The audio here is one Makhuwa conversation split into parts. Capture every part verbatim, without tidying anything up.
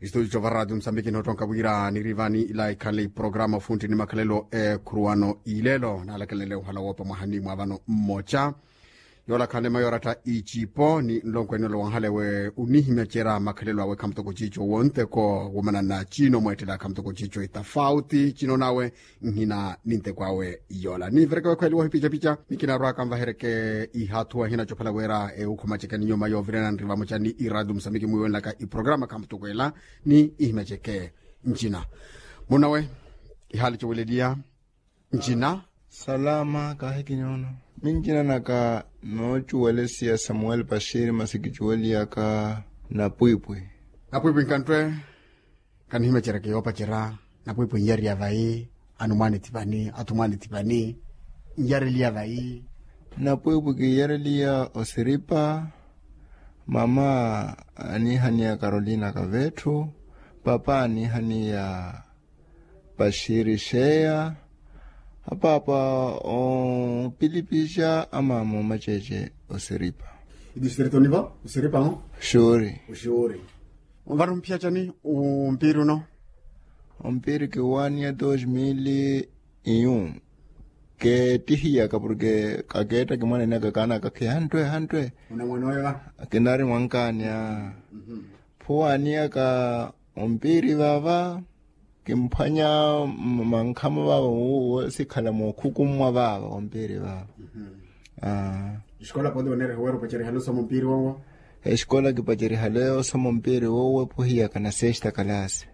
Istudio va radio musambiki noottonka wira niri vani ila ikhanle iprograma ofuntti ni makhalelo ekhuruwano ilelo naalakelele ohala woopa mwahani mwa vano mmoca. Yoola khanle mayoratta icipo ni nlonkwene ole wanhalewe onihimya cera makhalelo awe khamutoko cico wonteko womanana cino mweettela khamutoko cico itafauti cino nawe nhina ninteko awe. Yoola niivereke wekhweliwa ohipicapica ni kinarwaka nvahereke ihathuwa hinacophela wira eukhuma ceke ni nyuma yoovirena nri vamoca ni iradio musambiki mwiiwenlaka iprograma khamutokweela ni ihimya ceke. Ncina munawe ihaali coweleliya. Ncina salama kahikinyono. Mincina naka noocuwelesiya samuel pashiri masi kicuweliyaka napwipwi. Napwipwi nkanttwe. Kanihimecereke yoopacerya napwipwi nyariya vayi. Anumwaani thipani athumwaani thipani nyareliya vayi. Napwipwi kiyareliya osiripa. Mama anihaniya karolina kavetthu. Papa anihaniya paxiri xeya. Apaapa opilipixa amaama omaceece osiripa. Itistrito nivo osiripa mo? Xuuri. Oxuuri. Vano mphiyacani ompiiri uno? Ompiiri kiwaaniya dos mil iyu. Keettihiyaka porke kakeetta kimwanenaka kaanaka khihanttwe hanttwe. Onamwene oyo va? Kinari mwankaani a phuwaaniyaka ompiiri vaava. Kimphwanya mankhamo vaava wosikhala mookhukummwa vaava ompiiri vaava. Esikola poti onereha wira opacerihale osoma ompiiri wowo? Esikola kipacerihale osoma ompiiri wowo phuhiyaka na sesta kalasi.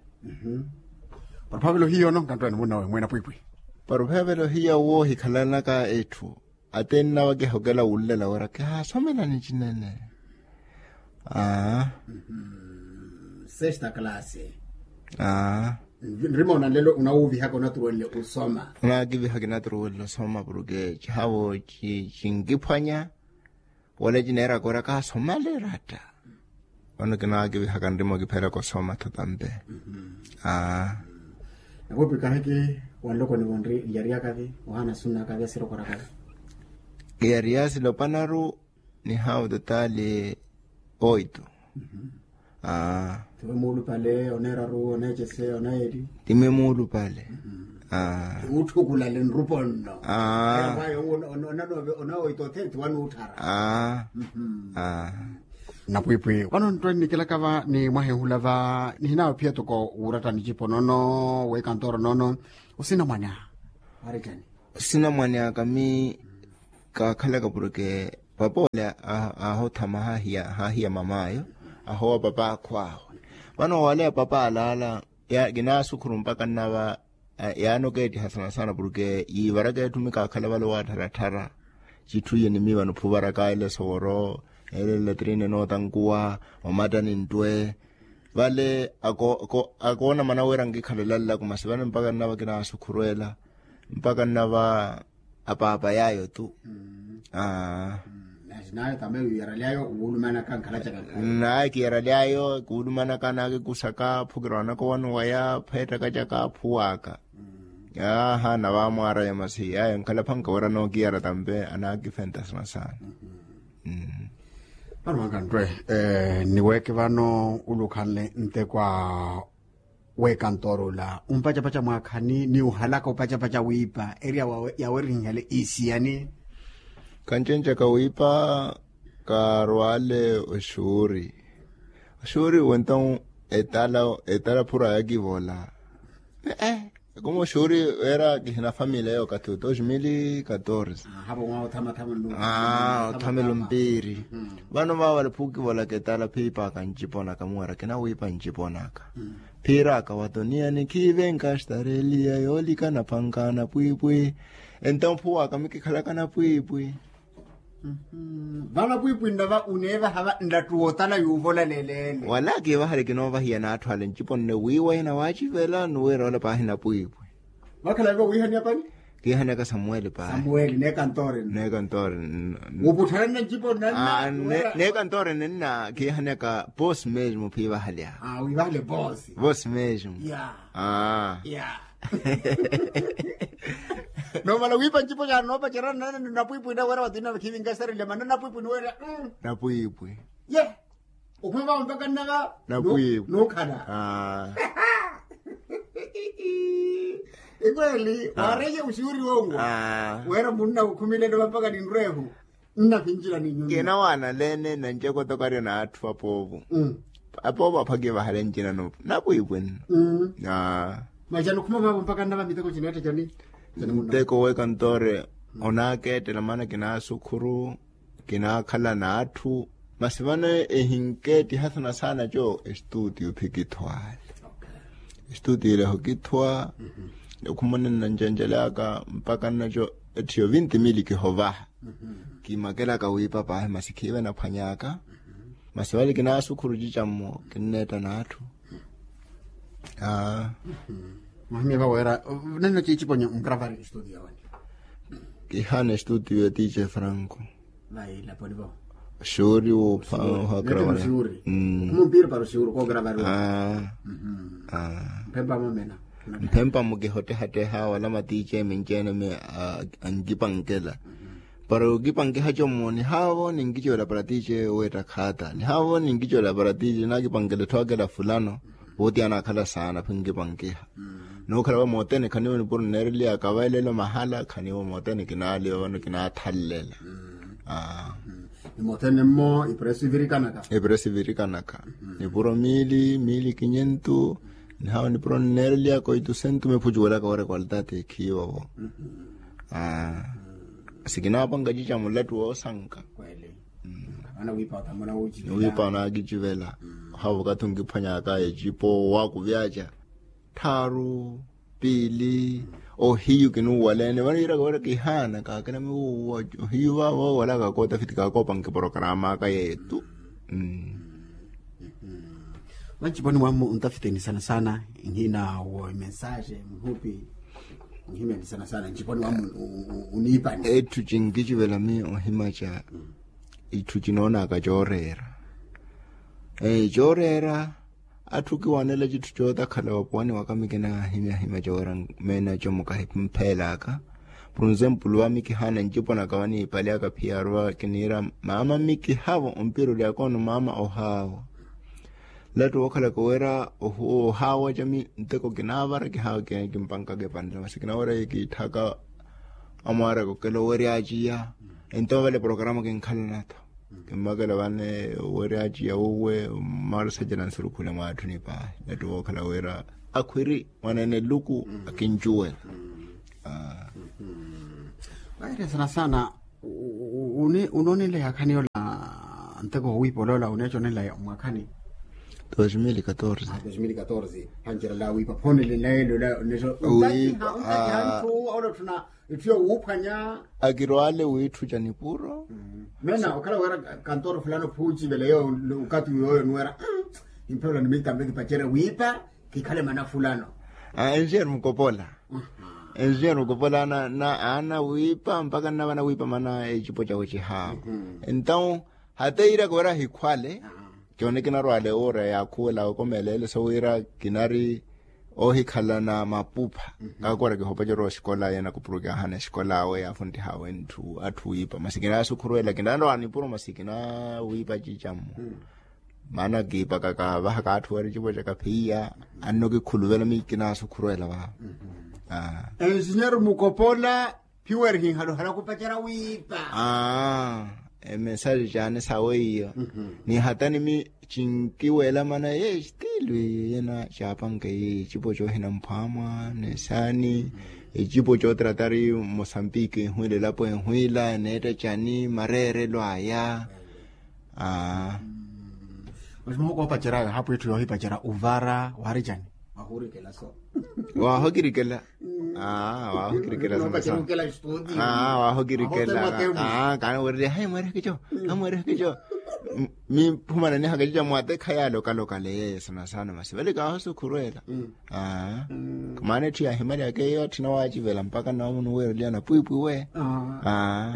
Paruphavelo hiyo no nkanttwani munnawe mwena pwipwi. Paruphavelo hiyo woohikhalanaka etthu. Atenna wakihokela wunlela wira kihaasomelani cinene. Aa. Sesta kalasi. Aa. Nrima onanlelo unawuvihaka onaturuwenle osoma. Onakiviha kinaturuwenle osoma porke cihavo cinkiphwanya. Wala cineeraka wira kaasomale ratta. Vano kinaakivihaka nrima okipheraka osoma thatampe. Aa. Nakupi kahiki wanloko nivo nri njariyakavi ohaana sunnakavi asirokorakavi. Kiyariya silopanaru. Ni haawu totali oito. Aa. Tiwe muulupale oneeraru oneecese oneeli. Timi muulupale. Aa. Utthukulale nrupo nno. Aa. Onanoove onaoito othe tiwanuutthara. Aa. Aa. Napwipwi vano nttwe nnikelaka va ni mwahehula va nihinaawe phiya toko wuuratta nicipo nono wekantooro nono. Osinamwanya warittani? Osinamwanya kami. Kaakhalaka porke papa ole aahothama haahiya mamaayo. Ahoowa papa akhwaawe vano waleya papa alaala. Kinaasukhuru mpaka nnava yaani okeettiha sana sana porke yiivaraka etthu mikaakhala vale owaattharattharya. Citthu iye ni miivano phuvaraka ele soworo ele latrine nootankuwa omattani nttwe. Vale akoona mana wira nkikhala elallaku masi vale mpaka nnava kinaasukhuru ela. Mpaka nnava apaapa yaayo tu. Aa. Naye kiyaraly'ayo kuulumanaka nkhalacaka. Naye kiyaraly'ayo kuulumanaka anaakikusaka phukira wanaka owano waya pheettaka caka aphuwaka. Aaha navaamwaaraya masi ayo nkhalaphanka wira nookiyara tampe anaakifenta sana sana. Vano mwankanttwe niweeke vano ule okhanle nteko a wekantooro ula ompacapaca mwaakhani ni ohalaka opacapaca wiipa eri yawerihihale isiyani? Kancencaka wiipa kaarwale oxuuri. Oxuuri wento etala etala phura yakivola. Ee. Ekuma oxuuri weera kihina famili eyo okathi wa dos mil katorze. Aa othamelo mpiiri. Vano vaavale phukivolaka etala phiipaka nciponaka muwera kinawiipa nciponaka. Phiiraka watoniyani khiivenka xtareliya yoolikana phanka napwiipwi. Entawo phuwaka mikikhalaka napwiipwi. Vano pwiipwi nnava oneevaha va nlattuwa otala yuuvola leleele. Wala kiivahale kinoovahiya n'atthu ale ncipo nne wiiwa ina waacivela ni wira ola paahi napwiipwi. Vakhala ivo wiihaniya pani? Kiihaniyaka samuweli paahi. Samuweli neekantoori nne. Neekantoori nne. Wuputthalanna ncipo nnanna. Neekantoori nne nna kiihaniyaka posi mesmo phiivahale. Aa wiivahale posi. Posi mesmo. Aa. Noomala wiipa ncipo caani noopacerya nnanna ni napwiipwi nna wira watinna khiivinka esarile manna napwiipwi ni weerya. Napwiipwi. Ye. Okhuma vavo mpaka nnava. Napwiivo. Nuukhala. Ikweli. Waareiye uxuuri wonwo. Weera munna ukhumile nnava mpaka ninrweehu. Nnakinjila ni nyunyu. Kinawaanaleene na ncekotoko aryo n'atthu apoovo. Apoovo aphakiye vahale ncina. Napwiipwinno. Masi anokhuma vavo mpaka nnava miteko cineetta cani? Nteko w'ekantoore onaakeettela maana kinaasukhuru. Kinaakhala n'atthu. Masi vano ehinkeettiha sana sana co estuutiyo phikithwaale. Estuutiyo ileho kithwa. Okhumana nnancencelaka mpaka nnaco ettiyo vinti mili kihovaha. Kimakelaka wiipa paahi masi khiive naphwanyaka. Masi vale kinaasukhuru cicammo kinneetta n'atthu. Mwahimya vaweera neno ciiciponyo nkravari estuutiyo yawanyu? Kihaana estuutiyo ya tiice franco. Vai laponi vo. Xuri wo pha. Xuri. Kumumpiri para oxuri koogravari. Mphempa mumena. Mphempa mukihottehatteha wala matiice minceene mi ankipankeela. Para okipankeha commo nihaavo ninkicivela para tiice weetta khaata nihaavo ninkicivela para tiice naakipankela etthu akela fulano. Wooti anaakhala saana phinkipankiha. Nookhala va mootene khaniivo nipuro nneereliyaka vaelelo mahala khaniivo mootene kinaaliwa vano kinaathallela. Ni mootene mmo ipuro esivirikanaka. Ipuro esivirikanaka. Nipuro miili miili kinyentu. Nihawo nipuro nneereliyaka oitusentu miphucuwelaka woorekwaltati ekhiivo vo. Sikinaapanka cica mulattu woosanka. Wiipa onaakicivela. Ohaavo okathi onkiphwanyaka ecipo waakuvyaca tthaaru piili. Ohiyu kinuuwaleene vano yiiraka wira kihaana kaakina miwuuwa. Ohiyu vaavo wala kakootafiti kakoopanka eporokaramaka yeetu. Vanciponi mwammu ontafiteni sana sana nhina wo imensaxe muhupi. Nhimeni sana sana nciponi mwammu. Oniipani etthu cinkicivela miyo ohimaca. Itthu cinoonaka cooreera. Cooreera. Atthu kiwanela citthu cootakhala wapuwani waka mikinahimyahimya cooreera. Meena comukahimpheelaka. Por ensempulu va mikihaana nciponaka vaniipalyaka phiyaaru va kiniira maama mikihavo ompira olyaka ono maama ohaawa. Lattu wookhalaka wira ohaawa cami nteko kinaavara kihaawa kimpankaka epanela masi kinawerya kiitthaka. Amwaaraka okela owerya aciya. Ento vale programa kinkhalana-tho. Kimmakela vane owerya aciya uwe. Mmaarusacela nsurukhule mwaatthuni paahi lattu wookhala wira akhwiri mwaneene luku akincuwela. Vaire sana sana. Unoonenleya akhani ola nteko wowiipa oloola oneeconenlaya mwakhani? Dos mil katorze. Dos mil katorze. Hancerela wiipa phoonelenlaye lola. Ntatiha ntatiha nthu olotthuna. Etthu yowuuphwanya. Akirwaale wiitthuca nipuro. Meena okhala wira kantoro fulano phuucivela yo. Okathi yoyo nuwera. Imphelola nimitamme kipacerya wiipa kikhale mana fulano. Enjeer mukopola. Enjeer mukopola ana ana wiipa mpaka nnavana wiipa mana ecipo cawe cihaawa. Entawu hata yiiraka wira ahikhwale. Cooni kinarwaale wuura yaakhuwela okomeleele so wira kinari ohikhalana mapupha. Kaakora kihopa corowa oxikola yeena kupuruki ahana exikola awe yaafuntiha awe ntthu atthu wiipa masi kinaasukhuruwela kinarwaale nipuro masi kinaawiipa cicammo. Maana kiipaka kaavahaka atthu wira ecipo caka phiya. Anno kikhuluvela mi kinaasukhuruwela vavo. Ensinyeri mukopola. Phiwerihi nhaluhala khupacerya wiipa. Aa emensaji caani sawe iyo. Ni hatani mi cinkiweela mana ye estilu iyo yena caapanke ye ecipo coohina mphwamwa nesaani. Ecipo cootratari mosambiki enhwiila elapo enhwiila eneetta cani mareerelo aya. Aa. Masi muhokoopacerya ayo haapo etthu yoohipacerya ovara waari cani? Wahuurikela so. Waahokirikela. Aa waahokirikela sana sana. Aa waahokirikela. Aa kaana weererya hayi mweereke co. Hayi mweereke co. Miphumana nihaka cica mwatekha yaalokalokale yeeyo sana sana masi vale kaahosukhuruwela. Aa. Maana etthu yaahimalyaka eyo atthina waacivela mpaka nnawo munuweereliyana pwiipwi we. Aa.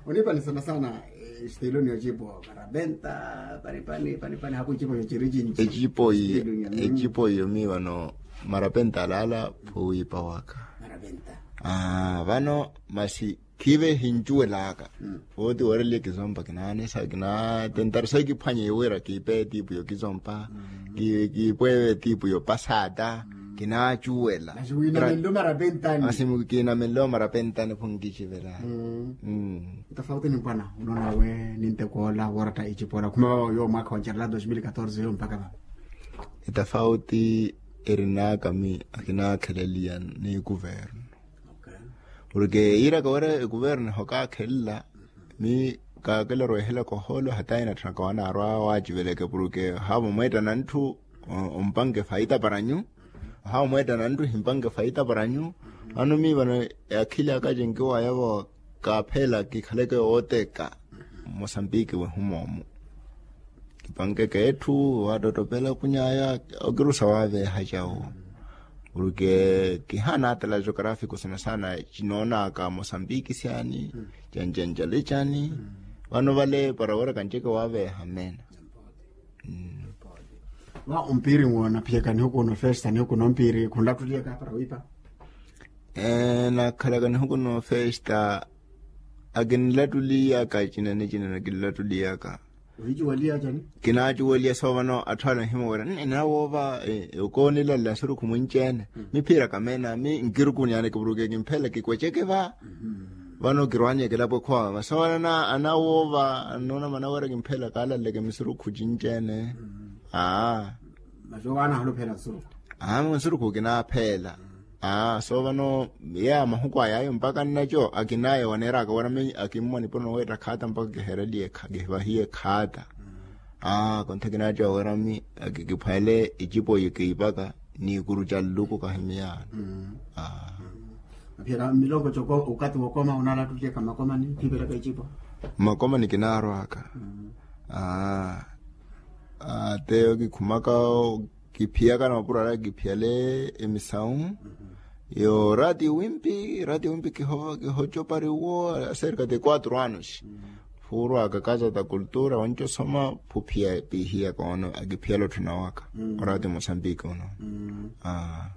Oniipani sana sana. Estiloni ocipo parapenta panipani panipani haku ecipo cociri cinci. Ecipo iyo. Ecipo iyo mi vano marapenta alaala phuwiipa waka. Marapenta. Aa vano masi Khiive hincuwelaka. Wooti wooreliye kizompa kinaanesa kinaatentari sayi kiphwanye wira kiipe etiipu yokizompa. Kiipweeve etiipu yopasata. Kinaacuwela. Asi kiinamenle omara pentani phunkicivela. Tofauti ni mpwana unoona we ninteko ola wooratta icipola khuma vava yo mwaakha wa ncerela dos mil katorze yo mpaka vava. Etafauti erinaka mi akinaakheleliya ni kuvernu. Porke yiiraka wira ekuvernu ehokakhelela mi kaakela orwehelaka ohoolo hata inatthunaka wanaarwa waaciveleke porke haavo mweettana ntthu ompanke faita para nyu. Haavo mweettana ntthu himpanke faita para nyu. Ano mi vano akhili aka cinkiwaya vo kaapheela kikhaleke wooteka mosambiki wehumoomu. Kipankeke etthu waattottopela kunyaya okirusa waaveeha cawo. Porke kihaana atala geografiku sana sana cinoonaka mosambiki syani. Cancancale cani. Vano vale para wira kanceke waaveeha mmeena. Va ompiiri nwo naphiyaka nihuku no festa nihuku no mpiiri khunlattuliyaka para wiipa. Nakhalaka nihuku no festa akinlattuliyaka cinene cinene akinlattuliyaka. Ohicuwaliya cani? Kinaacuwaliya soovano atthu ale anhimowera nne nawoova okoonilalela nsurukhu mwinci-ene. Miphiiraka meena mi nkirukuni yaani kipuruke kimpheela kikweceke va. Vano kirwaanyeke elapo ekhowaka vasowana anawoova anoona manawerya kimpheela kaalaleke misurukhu cinci-ene. Aa. Masi owaana ahulupheela nsurukhu. Aa nsurukhu kinaapheela. Aa so vano yeeya mahuku ayaayo mpaka nnaco akinaya waneeraka wira mi akimmwa nipuro noweetta khaata mpaka kihereliye kihivahiye khaata. Aa kontha kinaco wira mi akikiphwele icipo yikiipaka n'ikuru ca nluku kahimiyano. Aphiyaka mmilongo coko okati wokoma onalattuliyaka mmakomani khiipelaka icipo? Mmakomani kinaarwaka. Aa teyo kikhumaka kiphiyaka na mapuro ala kiphiyale emisawu. Yo raati wimpi raati wimpi kihocopari wo aserka de quatro anos. Phuurwaka casa da cultura wancosoma phuphiya piihiyaka ono akiphiyala otthuna waka. Oraati mosambiki uno. Aa.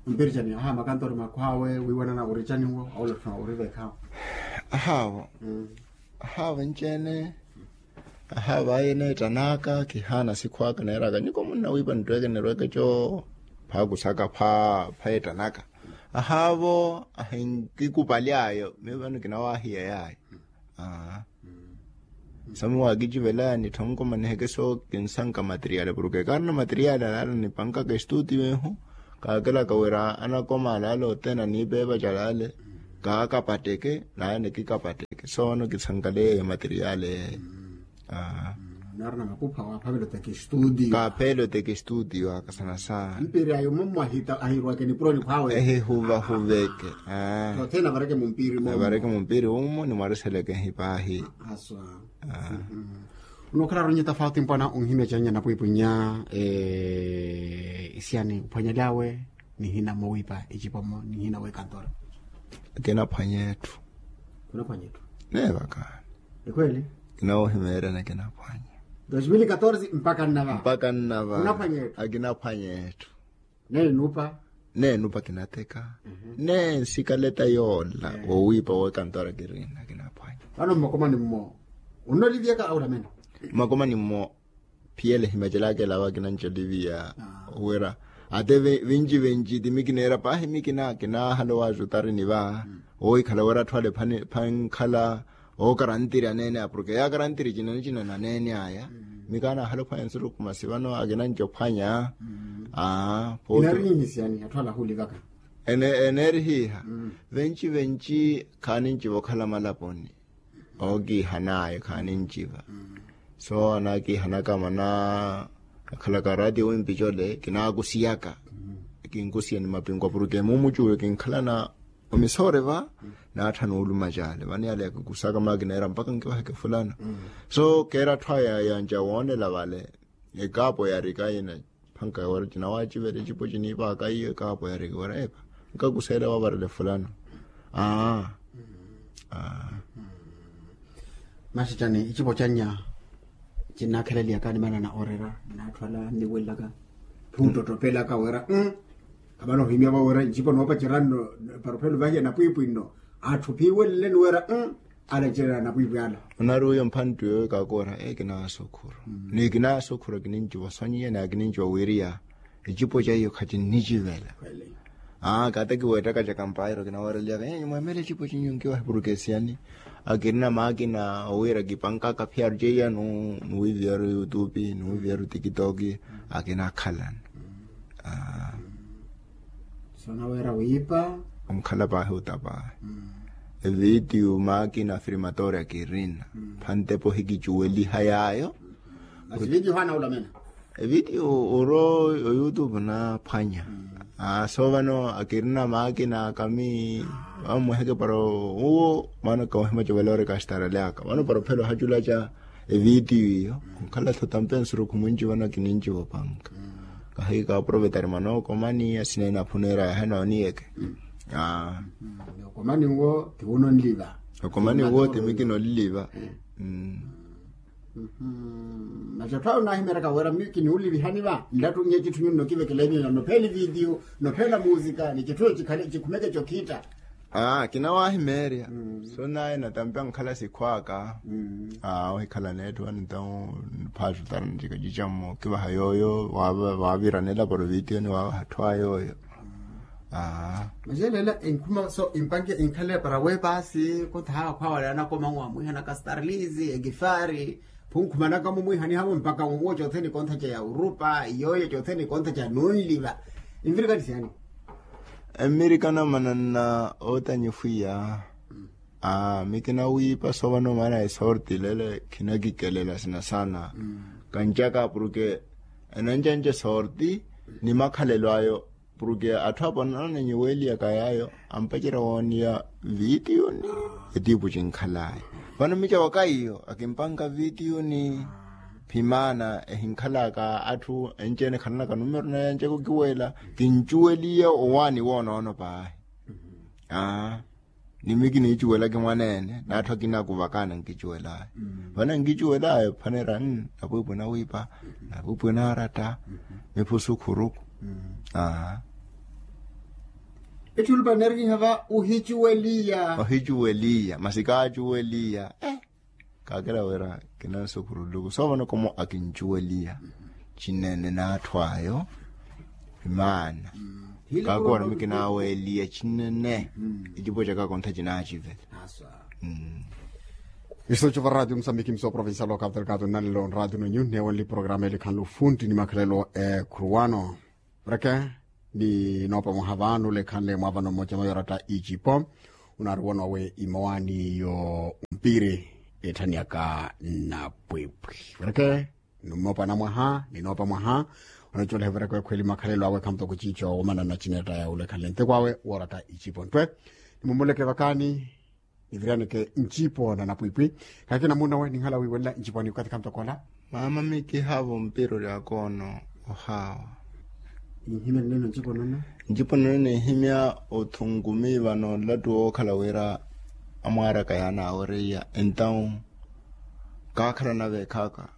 Ompiricani aha makantori makhw'awe wiiwanana oricaniwo awolatthuna orivekhawo. Ahaavo. Ahaavo enci-ene. Ahaavo aye neettan'aka kihaana sikhw'aka neeraka nyuko munnawiipa nitweeke nirweeke co. Phaakusaka pha pheettan'aka. Ahaavo ahinkikupaly'ayo miyo vano kinawaahiya yaayo. Aa. Sami waakicivelaya nittha onkomaniheke so kinsanka materiali porke kaarina materiali alaala nipankaka estuutiyo ehu. Kaakelaka wira anakoma alaala othene aniipeepa calaale kaakapatteke naye nikikapatteke so vano kisankaleya eyo materiali eyo. Aa. Naarina mapupha waaphavela oteka estuutiyo. Kaapheela oteka estuutiyo aka sana sana. Mpiiri ayo mummo ahirwake nipuroni khwawe. Ehihuvahuveke. Aa. Othene avareke mumpiiri mummo. Avareke mumpiiri mummo nimwariseleke ehipaahi. Aswa. Onookhela aronye tafauti mpwana onhimya cannya napwiipwinya. Isiyani ophwanyelyawe nihina mowiipa ecipomo nihina wekantora. Akinaphwanya etthu. Kunaphwanya etthu. Neevakaani. Ekhweli. Kinawoohimeeryana akinaphwanya. Dos mil katorze mpaka nnava. Mpaka nnava. Kunaphwanya etthu. Akinaphwanya etthu. Neenupa. Neenupa kinateka. Neensikaleta yoola wowiipa wekantora kirina kinaphwanya. Vano mmakomani mmo onnolivyaka aulamene. Mmakomani mmo phiyele himacelaka elawa kinancoliviya. Wira ate vinci vinci ti mi kineera paahi mi kina kinaahala owaajutari ni va owikhala wira atthu ale phankhala. Ookarantiri aneene aya porke yaakarantiri cinene cinene aneene aya. Mi kaanaahala ophwanya nsurukhu masi vano akinanci ophwanya. Aa. Eneerihiha. Venci venci khaaninciva okhala malaponi. Ookiihan'aya khaaninciva. So anaakiihanaka mana akhalaka raati wimpi cole kinaakusiyaka. Kinkusiya ni mapinkwa porke mumucuwe kinkhalana omisoore va naatthana oluma cale vano yale yakikusaka maakina era mpaka nkivaheke fulana. So keera atthu aya yanca woonela vale ekaapo yarika yina phanka wira cinawacivela ecipo ciniipaaka iyo ekaapo yarika wira epa nkakuseela wavarele fulana. Aa. Aa. Masi cani icipo cannya cinnaakheleliyaka ni manana orera naatthu ala nniwelelaka. Phunttottopelaka wira. Khamana ohimya vo wira ncipo noopacerya nno. Para ophela ovahiya napwiipwi nno. Atthu phiiweleleni wira. Alacererya anapwiipwi ala. Onari uyo mphantti yoyo kaakoora, ee kinaasokhura. Ni kinaasokhura kininciwa sonyiya ni kininciwa wiriya. Ecipo ca iyo khacinnicivela. Aa kaata kiweettaka ca kampairo kinaweereliyaka ee nyuma ya meela ecipo cinyu nkiwahi purukesiyani. Akirina maakina owiira kipankaka phiyaaru ceiya nuwiiviyaru yutupi nuwiiviyaru tikitoki. Akinakhalana. Aa. Soonaweera wiipa. Omukhala paahi ota paahi. Evitiyu maakina afirmatoori akirina. Phantepo hikicuweliha yaayo. Masi vitiyu haana olamena. Evitiyu oro oyutupu naaphwanya. Aa so vano akirina maakina akami. Vamweheke para uwo vano kawahimaca vale ori kastarale aka vano para ophela ohaculaca. Evitiyu iyo onkhala tho tampensurukhu mwinci vano kininciwa opanka. Kahi kaaprovetari mwana okomani asina inaphuneera yahe nooniyeke. Okomani uwo ti wunonliva. Okomani uwo ti mi kinonliva. Macattho ayo naahimeeraka wira mi kiniwulivihani va nlattunnya ecitthu nyunno kivekela enyu nopheela evitiyu nopheela musika ni citthu eyo cikhale cikhumeke cokhitta. Aa kinawahimeerya. So naye natampi ankhala sikhwaaka. Aa ohikhala neetthu vano entawu. Phaatutara ncika cicammo kivaha yooyo waaviranela para ovitiyoni waavaha atthu a yooyo. Aa. Macelela enkhuma so empanke enkhale para weepaasi kontha haawa khwaawale anakoma nwamwiihana kastarlizi ekifari. Phunkhumanaka mumwiihani hamu mpaka nwo cothene kontha ca ya urupa yooyo cothene kontha ca nunliva. Envirikani siyani. Emmirikana mananna ootanyifwiya. Aa mi kinawiipa so vano maana esorti lele khinakikelela sina saana. Kancaka porke enancanca esorti ni makhalelo ayo porke atthu apo anananyiweliyaka yaayo ampacerya wooniya vitiyuni. Etiipu cinkhalaya vano mica waka iyo akimpanka vitiyuni. Phimaana ehinkhalaka atthu enci-ene khalanaka numero naye ancako kiwela kincuweliye owaani woonoono paahi. Aa ni mi kiniicuwelaki mwaneene n'atthu akina akuvakana nkicuwelaya. Vano nkicuwelaya ephaneera napwiipwi nawiipa napwiipwi naaratta. Miphusu khuruku. Aa. Etthu olupa nneerikiha va ohicuweliya. Ohicuweliya masi kaacuweliya. Kaakela wira kinansukhuruluku so vano komo akincuweliya. Cinene n'atthu ayo imaana. Kaakowara mi kinaweliya cinene. Ecipo caka kontha cinacivela. Iso cuva radio musambiki mso provincial wa capital kato nnalelo nradio nonyu neewenle programa elikhanle ofunti ni makhalelo ekhuru wano. Vreke ni noopa mwaha vano lekhanle mwaavano mmoja mayoratta icipo. Unaari wano awe imowaani yo mpiri etthaniyaka napwipwi. Vreke ni mmoopa na mwaha ni noopa mwaha. Onacuwela hivreke wekhweli makhalelo awe khamutoko ciico womanana cineetta ya ulekhanle nteko awe wooratta icipo nttwe. Ni mumuleke vakani. Niviryaneke ncipo na napwipwi. Kakina munawe ninhala wiiwelela ncipo ni okathi khamutoko ola. Maama mikihaavo mpira oryaka ono. Ohaawa. Ninhimya nneeno ncipo nono. Ncipo nono ninhimya othungumi vano nlattu wookhala wira amwaaraka yaanaawereiya entawu kaakhala naveekhaka.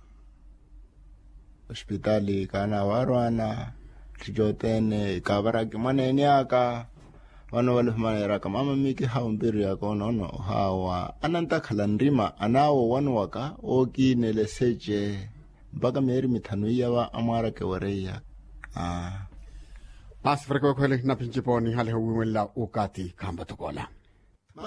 Ospitali kaanaawarwana. Tthu cothene kaavaraki mwaneene aka. Vano vale ohumaneeraka maama mikihaavo mpiri yaka onoono ohaawa anantakhala nrima anaawa owanuwaka ookiinela eseche. Mpaka miyeeri mithanu iya va amwaaraka ewereiya. Aa. Paasi freke wekhwele naphinci pooni haleho wiiwenla okathi khampatokoola.